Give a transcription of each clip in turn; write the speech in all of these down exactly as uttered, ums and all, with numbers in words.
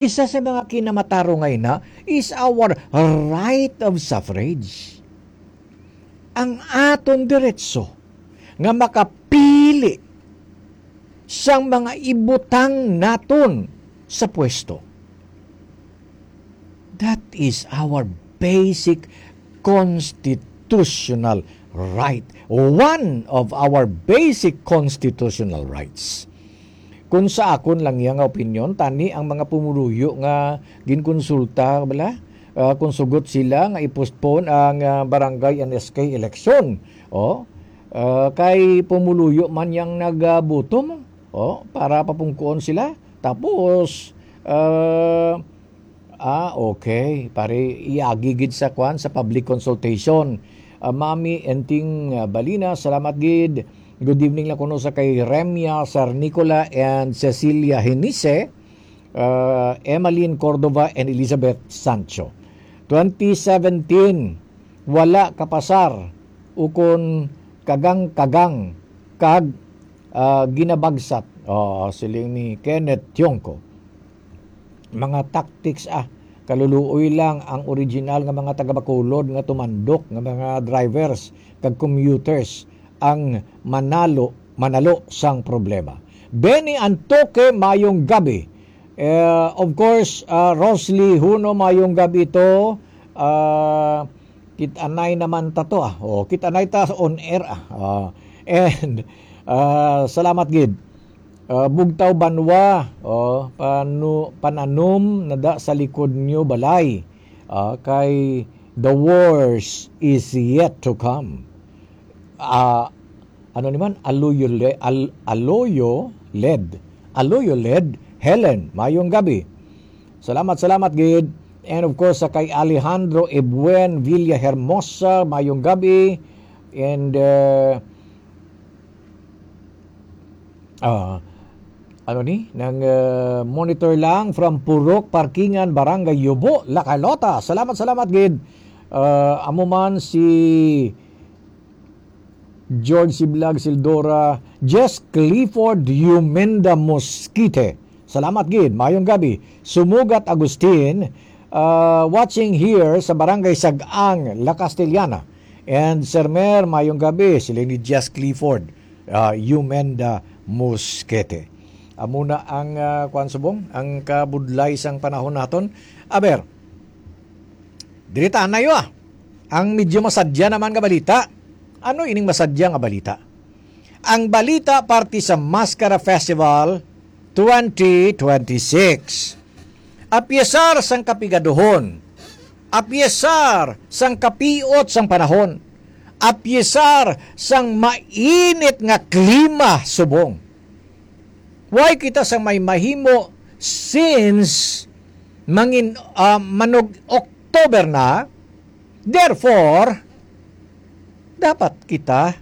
Isa sa mga kinamatarong nga ina is our right of suffrage. Ang aton diretso nga makapili sang mga ibutang naton sa pwesto. That is our basic constitutional right. One of our basic constitutional rights. Kung sa akon lang iya nga opinyon, tani ang mga pumuluyo nga ginkonsulta, bala, ah, kung sugot sila nga i-postpone ang, ah, barangay N S K election. Oh, ah, kay pumuluyo man yang nagboto mo. Oh, para papungkuon sila. Tapos, ah, ah, okay. Pare, iagi gid sa kwan, sa public consultation. Ah, Mami Enting, ah, Balina, salamat gid. Good evening lang kuno sa kay Remya Sarnicola and Cecilia Hinise, ah, Emmeline Cordova and Elizabeth Sancho. Twenty seventeen, wala kapasar ukon kagang-kagang kag, ah, ginabagsat. Oh, siling ni Kenneth Tiongco. Mga tactics, ah. Kaluluoy lang ang original nga mga taga-Bacolod nga tumandok nga mga drivers kag commuters ang manalo, manalo sang problema. Benny Antoque, mayong gabi. Eh, of course, ah, Rosly Huno, mayong gabi to. Ah, kit-anay naman ta to, ah. Oh, kit-anay ta on air, ah. Ah, and, ah, salamat gid. Ah, Bugtaw Banwa, oh, panu-, pananom na da sa likod niyo balay. Ah, kay the worst is yet to come. Ah, ano ni man? Aloyo Le-, Al-, Aloyo Led. Aloyo Led, Helen, mayong gabi. Salamat, salamat gid. And of course, sa kay Alejandro Ebuen Villa Hermosa, mayong gabi. And, uh, ah, ano ni? Nang, uh, monitor lang from Purok Parkingan, Barangay Yubo, La Carlota. Salamat, salamat gid. Uh, amo man si George Siblag Sildora, Jess Clifford Yumenda Mosquite. Salamat gid. Mayong gabi. Sumugat Agustin, uh, watching here sa Barangay Sag-ang, La Castellana. And Sir Mer, mayong gabi. Sila ni Jess Clifford, uh, Yumenda Mosquete. Amo na ang, uh, kuwan subong, ang kabudlay sang panahon naton. Aber, diri ta, anayo, ah. Ang medyo masadya naman nga balita. Ano ining masadya nga balita? Ang balita parte sa Mascara Festival twenty twenty-six. Apyesar sang kapigaduhon, apyesar sang kapiot sang panahon, apyesar sang mainit nga klima subong. Why kita sang may mahimo since mangin-, ah, manog October na? Therefore, dapat kita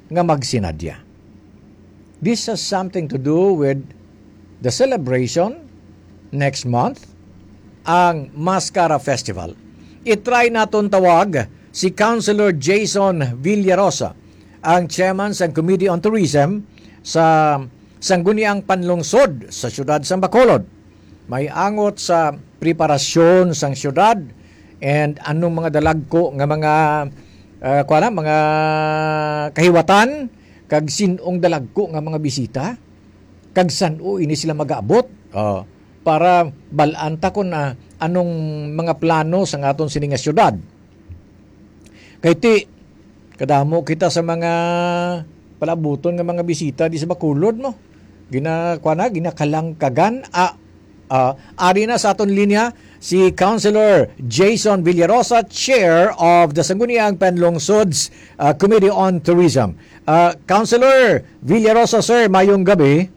nga magsinadya. This has something to do with the celebration next month, ang Mascara Festival. I-try naton tawag si Councilor Jason Villarosa, ang chairman sang Committee on Tourism sa Sangguniang Panlungsod sa siyudad sang Bacolod. May angot sa preparasyon sang siyudad and anong mga dalagko nga mga, ah, kuwan na, mga kahiwatan, kag sin-ong dalagko nga mga bisita, kag san-o ini sila mag-abot, ah, para bal-an ta kon, ah, anong mga plano sang aton sini nga siyudad. Kay ti, kadamo kita sa mga palabuton nga mga bisita di sa Bacolod, no? Gina-, kuwan na, ginakalangkagan. Ah, ah, ari na sa aton linya si Councilor Jason Villarosa, Chair of the Sangguniang Panlungsod's, ah, Committee on Tourism. Ah, Councilor Villarosa, sir, mayong gabi.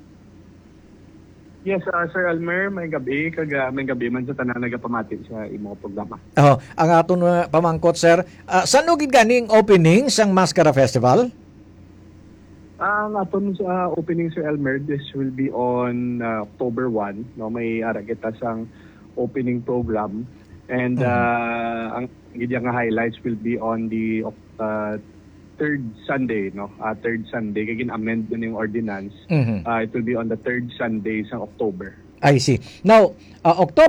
Yes, ah, Sir Elmer, may gabi, kag, ah, may gabi man sa tanan nagapamati sa imo programa. Oh, ang aton, ah, pamangkot, sir, ah, san-o gid gani ang opening sang Mascara Festival? Ah, ang aton, ah, opening, Sir Elmer, this will be on, ah, October one, no? May ara kita sang opening program. And, Mhm. ah, ang gid nga highlights will be on the Oc-, ah, third Sunday, no? Ah, third Sunday, kay gin-amend na yung ordinance. Mhm. Ah, it will be on the third Sunday sa October. I see. Now, uh, October